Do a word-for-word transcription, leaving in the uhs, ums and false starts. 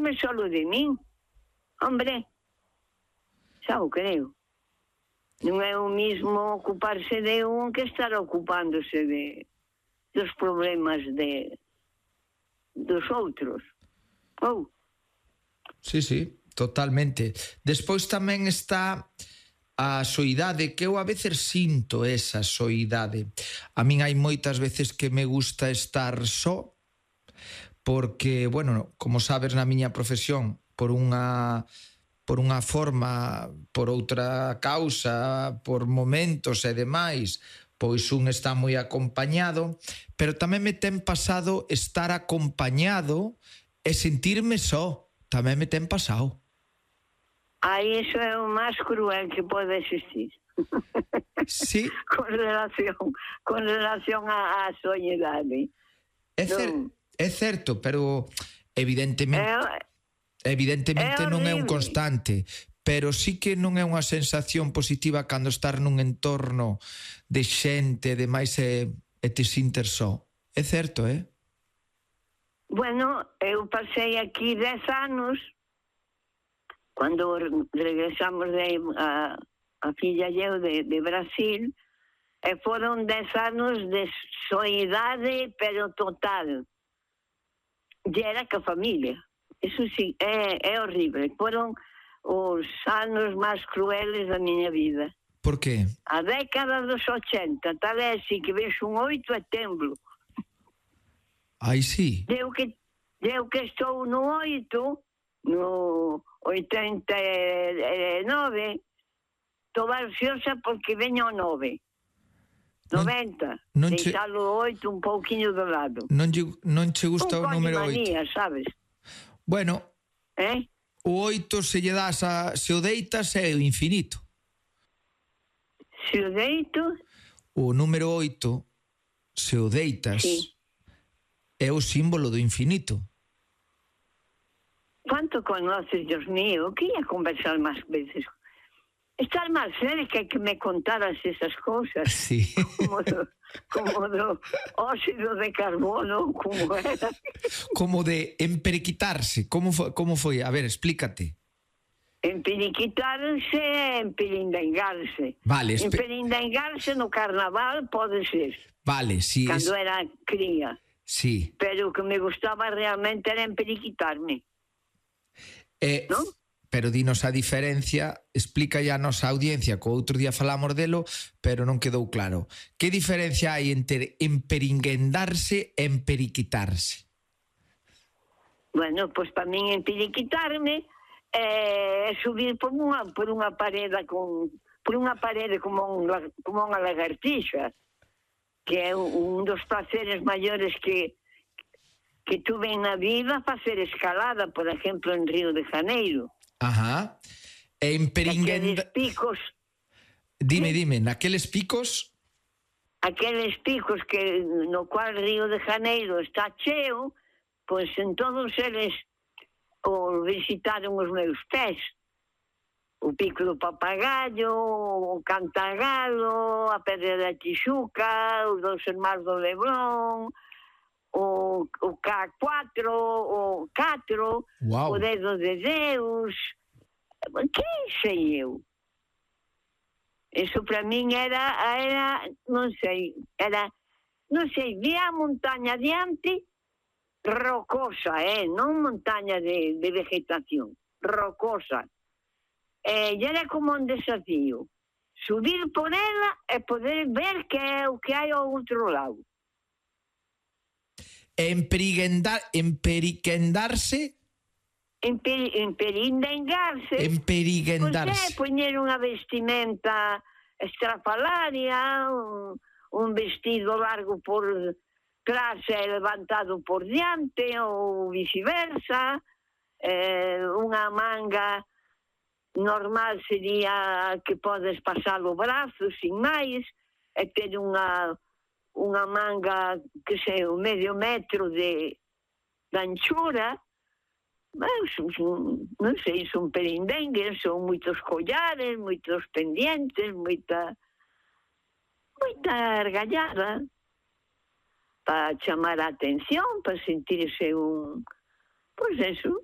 ocuparme solo de min. Hombre, xa o creo. Non é o mismo ocuparse de un que estar ocupándose de dos problemas de dos outros. Oh. Sí, sí, totalmente. Despois tamén está a soidade, que eu a veces sinto esa soidade. A min hai moitas veces que me gusta estar só, porque, bueno, como sabes, na miña profesión, por unha por unha forma, por outra causa, por momentos e demais, pois un está moi acompañado, pero tamén me ten pasado estar acompañado e sentirme só. Tamén me ten pasado. Aí iso é o máis cruel que pode existir. Sí. con relación con relación á, á soñedade. É, cer no. é certo, pero evidentemente é, evidentemente é non é un constante, pero sí que non é unha sensación positiva cando estar nun entorno de xente, de máis e, e te sinter só. É certo, eh? Bueno, eu pasei aquí dez anos. Cando regresamos de a, a filla e eu de, de Brasil, e foron dez anos de soidade, pero total. E era que a familia. Eso sí, é, é horrible. Foron os anos máis crueles da miña vida. Por qué? A década dos ochenta, tal é así que vexo un oito e temblo. Ai, sí. Eu que, eu que estou no oito, no oitenta e nove, estou ansiosa porque veño o nove. noventa, non, non deixalo o oito un pouquiño do lado. Non, non che gusta un o número oito? Un manía, sabes? Bueno, eh? o oito se lle das a, se o deitas é o infinito. Se o deito? O número oito, se o deitas, sí, é o símbolo do infinito. Quanto conoces, Dios mío? Que ia conversar máis veces. Estar máis cerca que me contaras esas cousas. Sí. Como do, como do óxido de carbono, como era. Como de emperiquitarse. Como foi? Como foi? A ver, explícate. Emperiquitarse é emperindengarse. Vale. Emperindengarse no carnaval pode ser. Vale, sí. Cando es... era cría. Sí. Pero o que me gustaba realmente era emperiquitarme. Eh, ¿no? Pero dinos a diferencia, explica ya a nosa audiencia, que outro día falamos delo, pero non quedou claro. Que diferencia hai entre emperinguendarse e emperiquitarse? Bueno, pois pues, para min emperiquitarme é eh, subir por unha, por unha parede con por unha parede como, un, como unha lagartixa, que é un dos placeres maiores que que tuve na vida, facer escalada, por exemplo, en Río de Janeiro. Ajá. E emperinguenda... Aqueles picos... Dime, ¿sí? dime, naqueles picos... Aqueles picos que no cual Río de Janeiro está cheo, pois en todos eles o visitaron os meus pés. O pico do Papagayo, o Cantagalo, a Pedra da Tixuca, os dos Irmáns do Leblon... O, o K cuatro, o catro, wow. O Dedo de Deus. Que sei eu? Eso para min era, era, non sei, era, non sei, vía a montaña diante, rocosa, eh, non montaña de, de vegetación, rocosa. E era como un desafío, subir por ela e poder ver que é o que hai ao outro lado. Emperinguendar, emperiquendarse Emper, emperindengarse emperinguendarse pois é poñer unha vestimenta estrafalaria, un, un vestido largo por trás e levantado por diante ou viceversa, eh, unha manga normal sería que podes pasar o brazo sin máis e ter unha unha manga que sei, un medio metro de, de anchura. Mas, non sei, son perindengues, son moitos collares, moitos pendientes, moita moita argallada para chamar a atención, para sentirse un, pois eso,